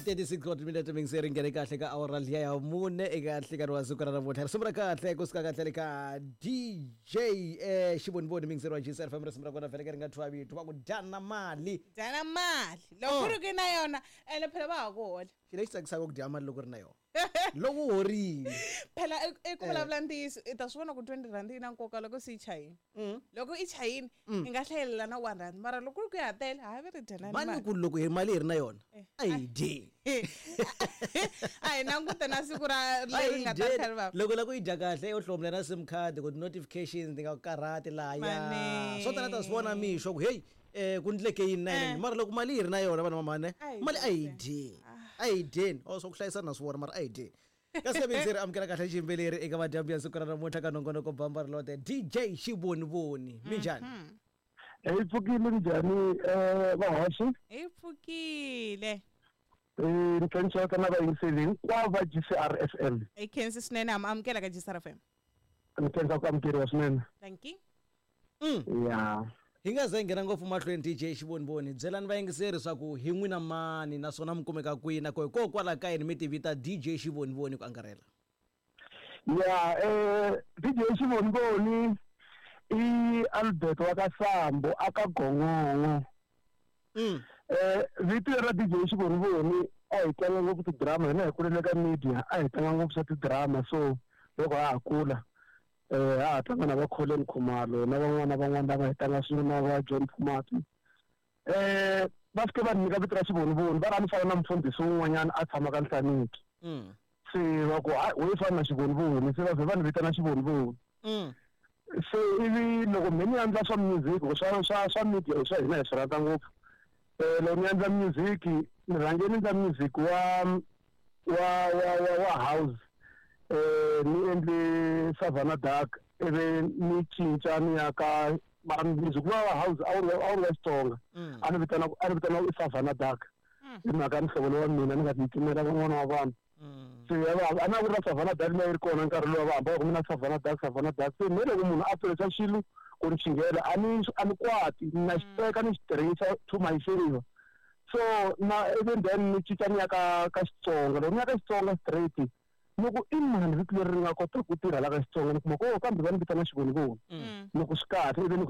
36 wa timinete mingiseri nghene kahle ka awara liya ya mune eka nhlikani wa siku ra namuntlha. Risimu ra kahle kusuka kahle le ka DJ Xivonivoni, mingiseri wa GCR FM. Risimu ra kona vhele ka ri nga thyiwa vito va ku "Dyana Mali". Dyana mali loko ku ri ku na yona, ene phela va ha ku hola. Xilo lexi tsakisaka ku dya mali loko ri na yona, loko u horile. Phela i ku vulavula ntiyiso, i ta swi vona ku R20 yi na nkoka loko se yi chayini. Loko i chayini, i nga hlayelela na R1, mara loko ku ri ku ya tele, hayi, va ri dyanani mani mali. Ku loko hi mali hi ri na yona, a hi dye. A hi langute na siku ra A leri hi nga ta dyeni. tlhela va Loko la ku yi dya kahle, u hlomula na SIM card ku ti-notifications ti nga ku karhati lahaya. Mane. Swo tala ta swi vona mixo ku heyi, ku ndleke yini na yini. Mara loko mali yi ri na yona, vanhu vamhane, A hi mali a hi dye. dye, a hi dyeni. O swa ku hlayisana na swi vona, mara a hi dyeni. Kasi ka amukela kahle xiyimbeleri eka madyambu ya siku ra namuntlha ka nongonoko Bamba Rilote, DJ Xivonivoni. Minjhani? Hi pfukile, njhani vahoxi? Hi pfukile. Ni khensa na vayingiseli hinkwavo va GCR FM. Hi khensi swinene, ha mi amukela ka GCR FM. Ni khensa ku amukeriwa swinene. Thank you. Ya. Hi nga ze hi nghena ngopfu mahlweni, DJ Xivonivoni, byelani vayingiseri swa ku hi n'wina mani, naswona mi kumeka kwihi, na ko hikokwalaho ka yini mi ti vita DJ Xivonivoni ku angarhela? Ya, DJ Xivonivoni i Albert wa ka Sambo aka Gongongo. Vito ra DJ Xivonivoni, a hi tlanga ngopfu tidrama hina, hi kulele ka media, a hi tlanga ngopfu swa tidrama. So loko ha ha kula, ha ha tlanga na va Colin Khumalo na van'wana na van'wana lava hi tlanga swin'we na va John Phumati. Va fike va nyika vito ra Xivonivoni, va ri a ni fana na mufundhisi wun'wanyana a tshamaka Nhlaniki. Se va ku, "Hayi, wo fana na Xivonivoni." Se va vhe va ni vitana Xivonivoni. Se ivi loko me ni endla swa music, swa media swa hina hi swi rhandza ngopfu. Loko ni endla music, ni rhange ni endla music wa house. Ni endle Savannah Dark, ivi ni cinca ni ya ka, mara music wa house a wu ri wa Xitsonga. A ni vitana i Savannah Dark hi mhaka muhlovo lowa mina ni nga ti pfumela van'wana wa vanhu. Se a na ku ri na Savannah Dark leyi ri kona nkarhi lowu, va hamba va ku mina Savannah Dark, Savannah Dark. Se me loko munhu a tirhisa xilo ku ni xinghela, a ni kwati, na xi teka ni xi tirhisa to my favor. So na even then ni cinca ni ya ka Xitsonga. Loko ni ya ka Xitsonga straight, ni ku i mani vito leri ri nga kota ku tirha la ka Xitsonga? Ni kuma ku, oh, kambe va ni vitana Xivonivoni. Ni ku swi kahle, ivi ni ku